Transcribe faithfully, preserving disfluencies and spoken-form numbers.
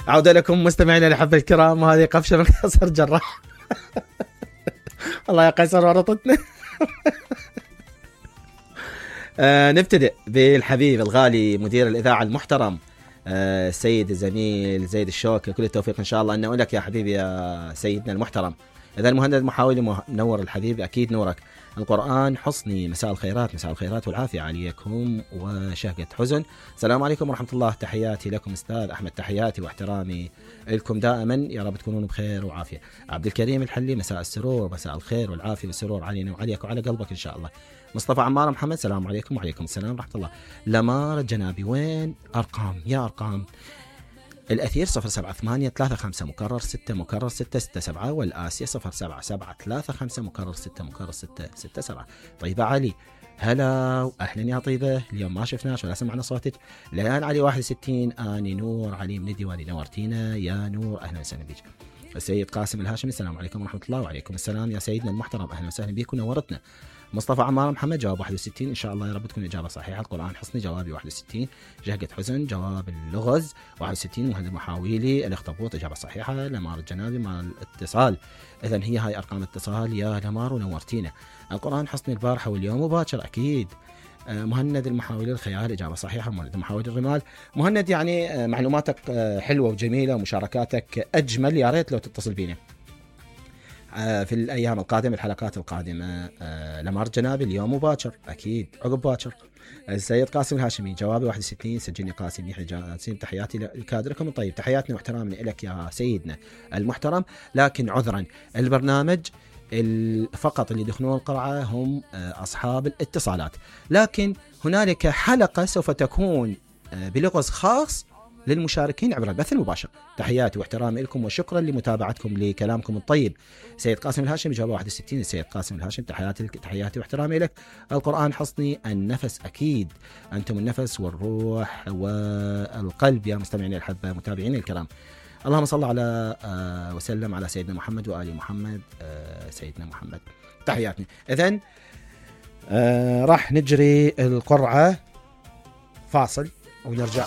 عودة لكم مستمعينا الأحبة الكرام، وهذه قفشة من قصر جراح. الله يا قيصر ورطتنا. آه نبتدئ بالحبيب الغالي مدير الإذاعة المحترم آه السيد الزميل زيد الشوك. كل التوفيق إن شاء الله. أن أقول لك يا حبيبي يا سيدنا المحترم، إذا المهندس محاولي منور الحبيب أكيد نورك. القرآن حصني، مساء الخيرات، مساء الخيرات والعافية عليكم وشهقة حزن. السلام عليكم ورحمة الله، تحياتي لكم أستاذ أحمد، تحياتي واحترامي لكم دائما، يا رب تكونون بخير وعافية. عبد الكريم الحلي، مساء السرور، مساء الخير والعافية والسرور علينا وعليك وعلى قلبك إن شاء الله. مصطفى عمار محمد، السلام عليكم وعليكم السلام ورحمة الله. لمار الجنابي، وين أرقام يا أرقام؟ الأثير صفر سبعة ثمانية ثلاثة خمسة مكرر ستة مكرر ستة ستة سبعة، والآسيا صفر سبعة سبعة ثلاثة خمسة مكرر ستة مكرر ستة ستة سبعة. طيبة علي، هلا وأهلا يا طيبة، اليوم ما شفناش ولا سمعنا صوتك. ليان علي واحد وستين، آني نور علي من الديواني، نورتينا يا نور، أهلا وسهلا بك. السيد قاسم الهاشمي، السلام عليكم ورحمة الله. وعليكم السلام يا سيدنا المحترم، أهلا وسهلا بك ونورتنا. مصطفى عمار محمد، جواب واحد وستين، إن شاء الله يا رب تكون إجابة صحيحة. القرآن حصني، جوابي واحد وستين. جهقة حزن، جواب اللغز واحد وستين. مهند محاويلي، الأخطبوط، إجابة صحيحة. لمار الجنابي مع الاتصال، إذن هي هاي أرقام اتصال يا لمار ونورتينا. القرآن حصني البارحة واليوم وباكر أكيد. مهند المحاولي الخيال، إجابة صحيحة. مهند محاولي الرمال. مهند يعني معلوماتك حلوة وجميلة ومشاركاتك أجمل، يا ريت لو تتصل بينا في الأيام القادمة، الحلقات القادمة. لمار جنابي اليوم وباكر أكيد، عقب باكر. السيد قاسم الهاشمي، جوابي واحد وستين. سجلني قاسم يحيى جاسم، تحياتي لكادركم الطيب، تحياتنا واحترامنا لك يا سيدنا المحترم. لكن عذرا، البرنامج فقط اللي يدخلون القرعة هم أصحاب الاتصالات، لكن هنالك حلقة سوف تكون بلغز خاص للمشاركين عبر البث المباشر. تحياتي واحترامي لكم وشكرا لمتابعتكم لكلامكم الطيب. سيد قاسم الهاشم، جواب واحد وستين. السيد قاسم الهاشم، تحياتي تحياتي واحترامي لك. القرآن حصني النفس، أكيد أنتم النفس والروح والقلب يا مستمعين الحبة متابعين الكرام. اللهم صل على آه وسلم على سيدنا محمد وآل محمد. آه سيدنا محمد، تحياتنا. إذن آه راح نجري القرعة، فاصل ونرجع.